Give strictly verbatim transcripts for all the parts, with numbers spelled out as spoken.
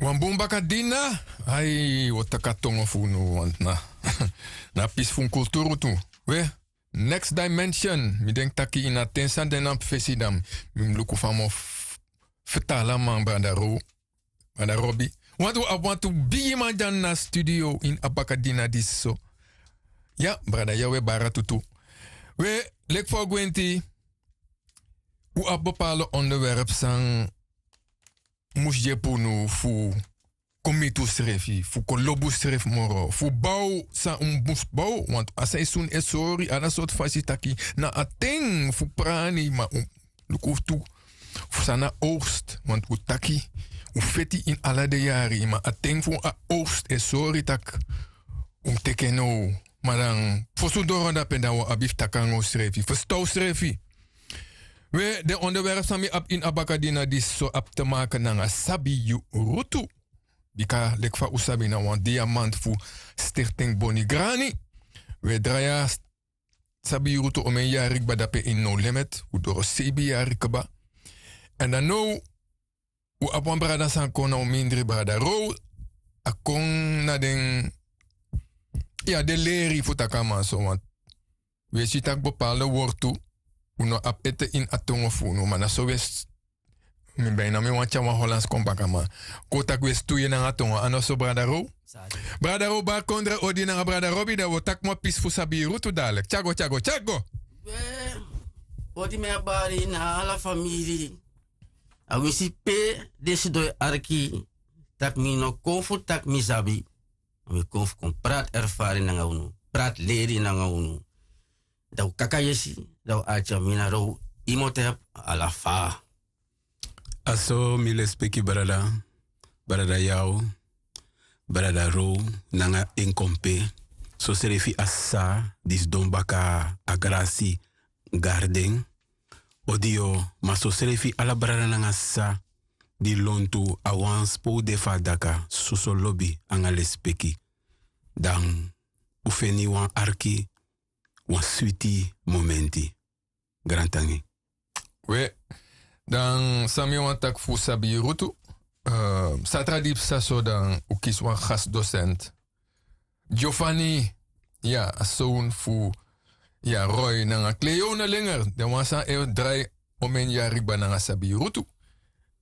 Wan bun bakadina. Ai, wi o taki a tongo fu unu, want na, na a pisi fu un kulturu tu. We, next dimension. Mi denki taki ini a ten san de na mi fesi, dan mi mus luku fa mi o f-, fertali a man, brada Ro-, brada Robi. Want wi abi wantu bigiman dya na studio ini a bakadina disi so. Ya, brada, ya wi e bari tu tu. We, leki fa wi gwenti, wi abi bepaalde onderwerp san mus yepi unu fu kon miti unsrefi, fu kon lobi unsrefi moro, fu bow san un mus bow. Want a seisun e sori ala sortu fasi taki na a ten fu prani, ma un luku tu fu san na oogst. Want un taki un feti ini ala den yari, ma a ten fu a oogst e sori taki un teki en now. Ma dan fosi un doro dape, dan wi o abi fu taki nanga unsrefi, ferstan unsrefi. We, den onderwerp san mi abi ini a bakadina disi so abi te maken nanga sabi yu rutu. Bika leki fa un sabi, na wan diamant fu Stichting Boni Grani. Wi e drai a sabi yu rutu omeni yari kba dape ini No Limit, un doro seibi yari kba. Èn dan now un abi wan brada san kon, na un mindri, brada Ro. A kon na den, ya, den leri, fu taki a man so, want wi e si taki bepaalde wortu un no abi ete ini a tongo fu unu, ma na so wi e s-, mi ben na mi wani tyari wan Hollands kon baka, ma kon taki wi e stuye nanga a tongo, a no so, brada Ro? Brada Ro, bari kondre odi nanga brada Robi, dan wi o taki moo pisi fu sabi yu rutu dadelijk. Tyago, tyago, tyago. We, odi mi e bari na ala famiri. A winsi pe den sidon e arki, taki mi no kon fu taki mi sabi. Mi kon fu kon prati ervaring nanga unu, prati leri nanga unu. Dan un kaka yesi, dan un arki a mi na Ro, yu mu tapu ala fa. A so, mi lespeki brada, brada Yao, brada Ro, nanga en kompe, sosrefi a sisa di sidon baka a grasi garden, odi yu, ma sosrefi ala brada nanga sisa di lontu a wan spo de fu a daka, soso lobi anga lespeki. Dan un feni wan arki, wan switi momenti. Grantangi. We, dan san mi wani taki fu sabi yu rutu, eh, satra di psa so, dan un kisi wan gastdocent. Giovanni, ya, a son fu, ya, Roy nanga Cleone Linger, den wan san e drai omeni yari kba nanga sabi yu rutu.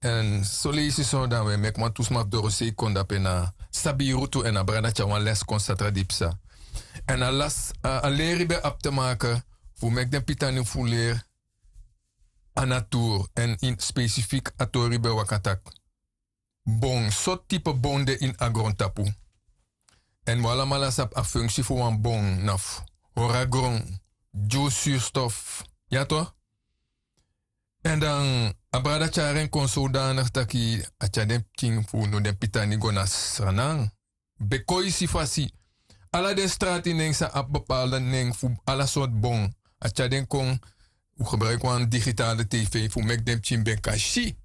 Èn soleisi so dan wi e meki wantu sma fu dorosei kon dape na sabi yu rutu, èn a brada tyari wan les kon satra di psa. Èn a las, a, a leri ben abi te maken fu meki den pitani fu leri a natur, èn ini spesifik a tori ben waka taki bon, sortu type bon de ini a grontapu. Èn wi alamala sabi a funksi fu wan bon na fu hori a gron, gi wi surstof. Ya toch? Èn dan a brada tyari en kon sodanig taki a tyari den pikin fu unu, den pitani, go na Sranan. Bekoisi fasi. Ala den strati nen san abi bepaalde nen fu ala sortu bon, a tyari den kon. Un gebruiki wan digitale tv fu meki den pikin ben kan si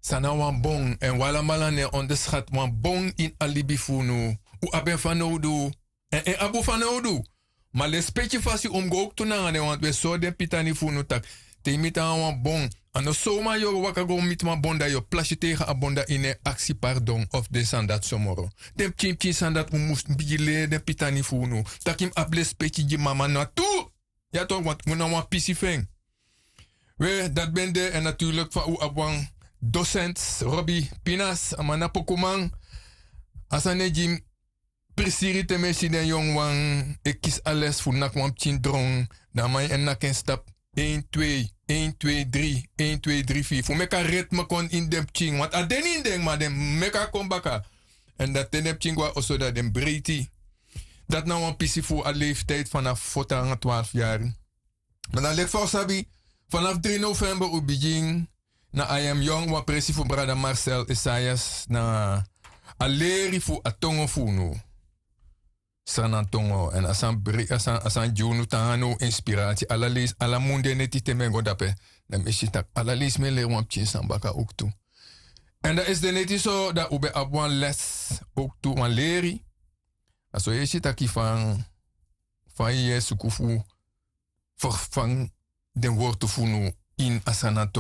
san na wan bon. Èn wi alamala no e onderschat wan bon ini a libi fu unu. Un abi en fanowdu. Èn en abi un fanowdu. Ma lespeki fasi un mus go owktu nanga den, want wi e sori den pitani fu unu taki te yu miti nanga wan bon, a no sowma yu o waka go miti wan bon dan yu o plasi tegen a bon dan yu no e aksi pardon of den sani dati so moro. Den pikinpikin sani dati un mus bigin leri den pitani fu unu. Taki yu mus abi lespeki gi mama na tu. Ya toch, want un na wan pisi fu en. We, dati ben de, èn natuurlik fa un abi wan docent, Robi Pinas, a man na pokuman. A sani e gi mi prisiri te mi e si den yongu wan e kisi a les fu naki wan pikin dron, dan a man e naki en stap. Een, twee, een, twee, drie, een, twee, drie, vier. Fu meki a ritme kon ini den pikin, want a de ini den, ma den meki a kon baka. Èn dan te den pikin go na oso dan den breiti. Dati na wan pisi fu a leeftijd vanaf fourteen nanga twaalf yari. Ma dan leki fa un sabi, vanaf drie november un bigin na I Am Young, wan presi fu brada Marcel Esaias, na a leri fu a tongo fu unu. Sranan tongo, èn a sani bre-, a sani, a sani gi unu tan nanga now inspirasi. Ala leisi, ala mun den neti te mi e go dape, dan mi e si taki ala leisi mi e leri wan pikin sani baka owktu. Èn dan esi den neti so, dan un ben abi wan les owktu, wan leri. A so yu e si taki fa, fa yu e suku fu ferfanga den wortu fu unu ini a Sranan tongo.